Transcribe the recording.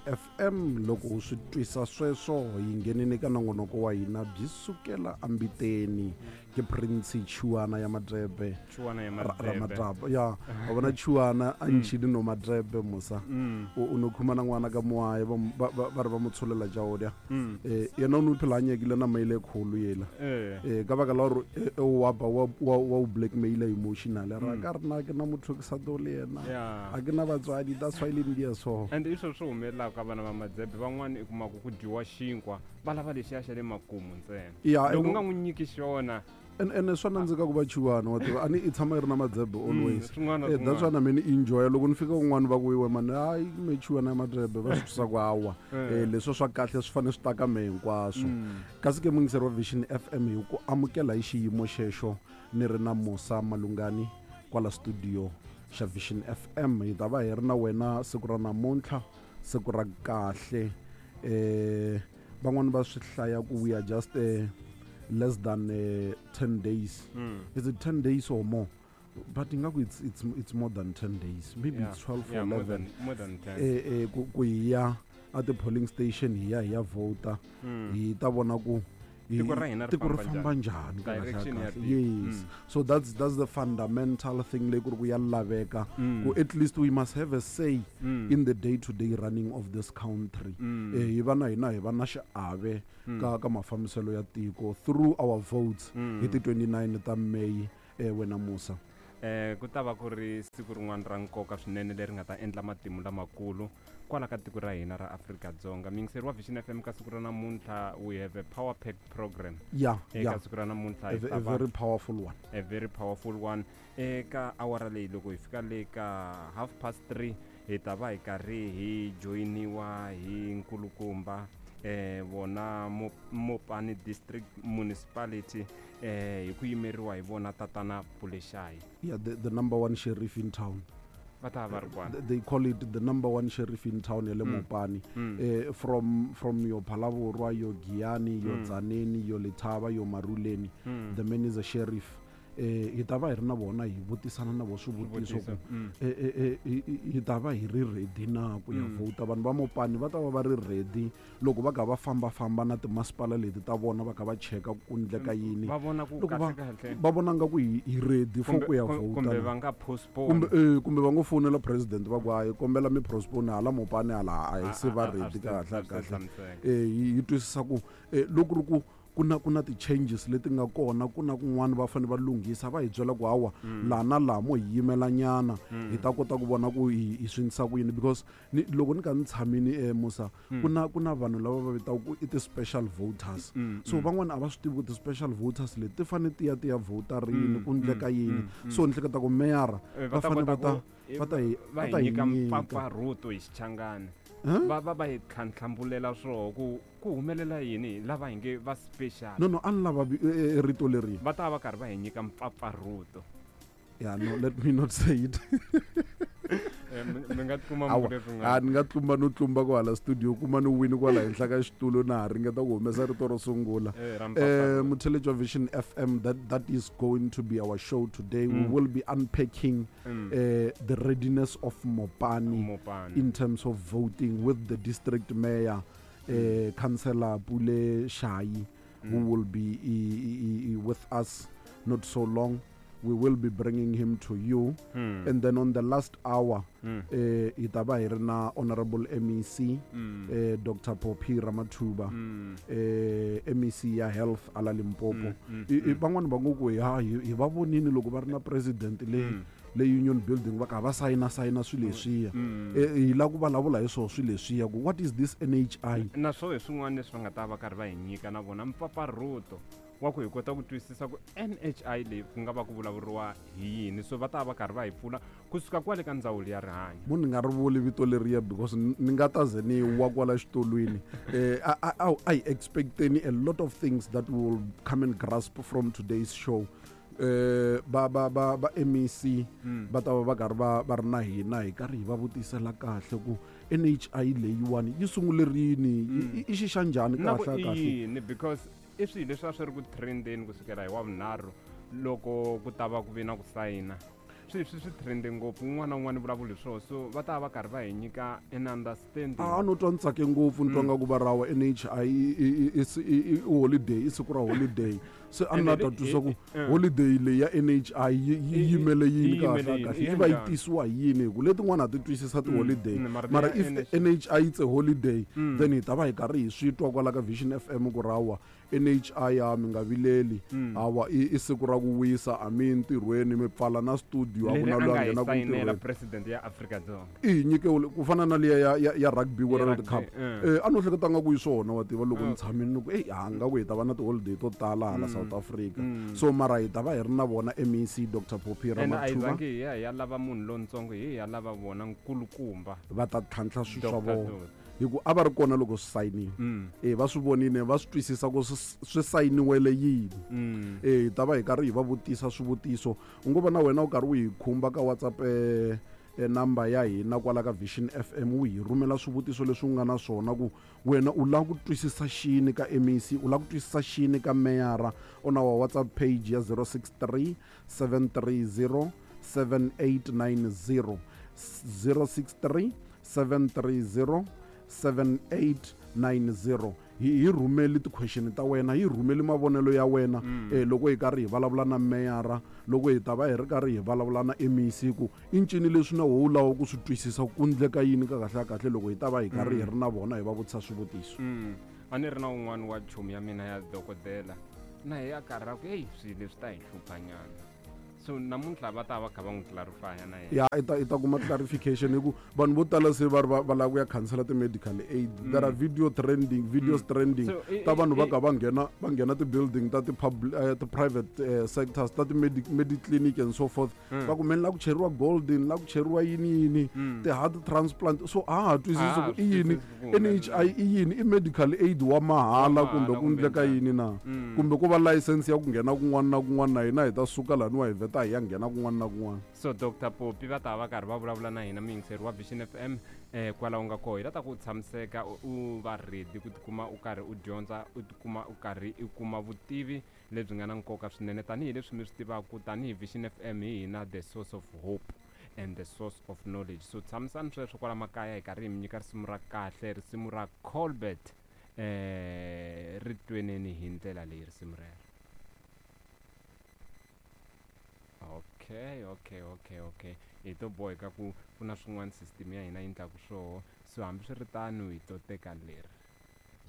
FM. Loko u swi twisa sweswo hi nghenini ka nongonoko wa hina byi sukela ambiteni. Ke Prince Chuana ya Madrebe. Chuana ya Ra Madrebe. Madraba. Ya, wa vona Chuana a ntšhile no Madrebe mosa. O no khumana ngwana ka moae ba re ba mo tsholela jaodia. Yena o no phela a nyakile nama ile kholo yela. Ka baka la gore o wa ba wa o blackmaila emotionally. Ra ka rena ke na motho ke sa tlo le yena. A ke na batswadi, that's why le ndia so. And i sweswo swi humelelaka ka vana va Madzebe van'wana i kuma ku ku dyiwa xinkwa va lava lexiya xa le makumu ntsena. Loko u nga n'wi nyiki xona. Ene swa nandzika ku va chuwana wa tiva a ni i tshama i ri na madzebe always. Swin'wana That's why na mina ni enjoya loko ni fika kun'wana va ku iwe mani hayi me chuwana ya madzebe va swi twisa ku hawa. Leswo swa kahle swi fanele swi ta ka me hinkwaswo. Kasi ke muyingiseri wa Vision FM hi ku amukela hi xiyimo xexo ni ri na Musa Malungani kwala studio xa Vision FM. Hi ta va hi ri na wena siku ra namuntlha, siku ra kahle. Van'wani va swi hlaya ku we are just less than 10 days. Is it 10 days or more? But ingaku it's more than 10 days. Maybe it's 12 or 11. More than 10. Ku hi ya at the polling station hi ya hi ya vota. Hi ta vona ku Tiko ra hina ri tiko ri famba famba njhani? njhani ka kahle Direction ya kahle. tiko. Yes. So that's the fundamental thing leyi ku ri ku ya laveka. Ku at least we must have a say in the day-to-day running of this country. Hi va na hina hi va na xiave ka mafambiselo ya tiko through our votes hi ti 29 ta May, wena Musa. Ku ta va ku ri siku rin'wana ra nkoka swinene leri nga ta endla matimu lamakulu kwala ka tiko ra hina ra Afrika-Dzonga. Muyingiseri wa Vision FM ka siku ra namuntlha, we have a power packed program. Eka siku ra namuntlha hi ta A va very powerful one. A very powerful one. Eka awara leyi loko hi fika le ka half past three hi ta va hi karhi hi joyiniwa hi nkulukumba vona Mopani District Municipality hi ku yimeriwa hi vona tatana Pulexayi. Yeah, the number one sheriff in town. Va ta va ri kwana. They call it the number one sheriff in town ya le Mopani. From your Phalaborwa, your Giyani, your Tzaneen, your Letaba, your Maruleni. The man is a sheriff. Hi ta va hi ri na vona hi vutisana na vo swivutiso ku, hi ta va hi ri ready na ku ya vhota. Vanhu va Mopani va ta va va ri ready loko va kha va fambafamba na timasipala leti ta vona va kha va cheka ku endleka yini. Va vona ku Loko kahle kahle. va vona nga ku hi ready for ku ya vhota Kumbe na. va nga postpone. Kumbe va ngo fonela president va ku hayi kombela mi postpone hala Mopani hala a hi se va ready kahle A swi kahle. tshamiseka. Hi twisisa ku loko ri ku ku na ti-changes leti nga kona, ku na kun'wana va fanele va lunghisa, va hi byela ku hawa, laha na laha mo hi yimela nyana, hi ta kota ku vona ku hi swi endlisa ku yini. Because loko ni kha ni tshamini Musa, ku na vanhu lava va vitaka ku i ti-special voters. So van'wana a va swi tivi ku ti-special voters leti ti fanele ti ya ti ya vhota rini, ku endleka yini. So ni hleketa ku meyara Va va ta fanele kota ku va ta hi, va va hi ta hi nyika nyika. mpfapfarhuto hi Xichangani. Huh? Va hi tlhantlhambulela swoho ku humelela yini lava hi nge va special. No, no, a ni lava rito leri. Va ta va karhi va hi nyika mpfapfarhuto. Yeah, no, let me not say it. Mi nga tikuma Awa, mi vule swin'wana. a ni nga tlumba no tlumba kwala studio, kuma ni wini kwala henhla ka xitulu na ha ringeta ku humesa rito ro sungula. Ra mpfapfarhuto. Mutheletši wa Vision FM, that is going to be our show today. We will be unpacking the readiness of Mopani, Mopani in terms of voting with the district mayor, Councillor Pule Shayi, who will be with us not so long. We will be bringing him to you. And then on the last hour, hi ta va hi ri na Honorable MEC, Doctor Phophi Ramathuba, MEC ya Health ala Limpopo. Van'wani va ngo ku ya, hi va vonini loko va ri na president le Union Building va kha va sayina sayina swilo leswiya. Hi lava ku vulavula hi swona swilo leswiya ku what is this NHI? Na swo hi swin'wana leswi va nga ta va karhi va hi nyika na vona mpfapfarhuto wa ku hi kota ku twisisa ku NHI leyi ku nga va ku vulavuriwa hi yini. So va ta va karhi va hi pfuna kusuka kwale ka ndzawulo ya rihanyo. Munhu ni nga ri vuli vito leriya because ni nga ta ze ni wa kwala xitulwini. I expecteni a lot of things that we will come and grasp from today's show. Ba MEC va ta va va karhi va ri na hina hi karhi hi va vutisela kahle ku NHI leyiwani yi sungule rini, i xi xa njhani Na ku kahle i kahle? yini, because i swilo leswi a swi ri ku trendeni kusukela hi wa vunharhu loko ku ta va ku ve na ku sayina. Swi trende ngopfu, un'wana na un'wana vulavula hi swona, so va ta va karhi va hi nyika an understanding. A no twa ni tsake ngopfu, ni twa nga ku va rawa NHI i holiday, i siku ra holiday, se a ni la ta twisisa ku holiday leyi ya NHI yi yimele yini kahle kahle, yi va yi tisiwa hi yini, hi ku letin'wana ha ti twisisa ti-holiday, mara if NHI it's a holiday, then hi ta va hi karhi hi swi twa kwala ka Vision FM ku rawa NHI ya mi nga vileli, hawa i siku ra ku wisa, a mi ntirhweni, mi pfala na studio, a ku na loyi a nghenaka ntirhweni. President ya Afrika-Dzonga i hi nyike ku fana na liya ya Rugby World Cup. A no hleketa nga ku yi swona, wa tiva, loko ni tshamile ni ku eyi ha nga ku hi ta va na ti-holiday to tala hala South Africa, so mara hi ta va hi ri na vona MEC Dr Phophi Ramathuba. Hi ya hi ya lava munhu lontsongo, hi ya lava vona nkulukumba, va ta tlhantlha swilo swa vona, hi ku a va ri kona loko swi sayiniwa, va swi vonile, va swi twisisa ku swi sayiniwele yini. Hi ta va hi karhi hi va vutisa swivutiso, u ngo va na wena u karhi u hi khumba ka WhatsApp number ya hina kwala ka Vision FM, u hi rhumela swivutiso leswi u nga na swona, ku wena u lava ku twisisa xini ka MEC, u lava ku twisisa xini ka meyara, on our WhatsApp page ya 063 730 7890, 063 730 7890. Hi rhumeli ti-question ta wena, hi rhumeli mavonelo ya wena, loko hi karhi hi vulavula na meyara, loko hi ta va hi ri karhi hi vulavula na MEC, ku i ncini leswi na wo wu lava ku swi twisisa, ku ndleka yini ka kahle kahle, loko hi ta va hi karhi hi ri na vona hi va vutisa swivutiso. A ni ri na un'wana wa chomi ya mina ya dokodela, na hi ya karhi ra ku heyi, swilo leswi ta hi hluphanyana, so namuntlha va ta va kha va n'wi clarifya na yena. Ya, i ta kuma clarification, hi ku vanhu vo tala se va ri va lava ku ya khansela ti-medical aid. There are video trending, videos trending ta vanhu va ka va nghena ti-building ta ti-private sectors, ta ti-medi clinic and so forth, va ku meni la ku cheriwa golden, la ku cheriwa yini yini, ti-heart transplant, so a ha twisisi ku i yini NHI, i yini, i medical aid wa mahala kumbe ku ndleka yini na, kumbe ku va license ya ku nghena kun'wana na kun'wana, na hina hi ta suka laniwa hi vheta hi ya nghena kun'wana na kun'wana. So Dr Popi va ta va karhi va vulavula na hina, muyingiseri wa Vision FM, kwala u nga koho, hi ta ta ku tshamiseka, u va ready ku tikuma u karhi u dyondza, u tikuma u karhi u kuma vutivi lebyi nga na nkoka swinene, tanihileswi mi swi tivaka tanihi Vision FM, hi hina the source of hope and the source of knowledge. So tshamisani sweswo kwala makaya, hi karhi hi mi nyika risimu ra kahle, risimu ra Colbert, ri tweneni hi ndlela leyi risimu rero. Okay, hi to boheka ku ku na swin'wana system ya hina yi endlaku swoho, so hambiswiritano hi to teka leri.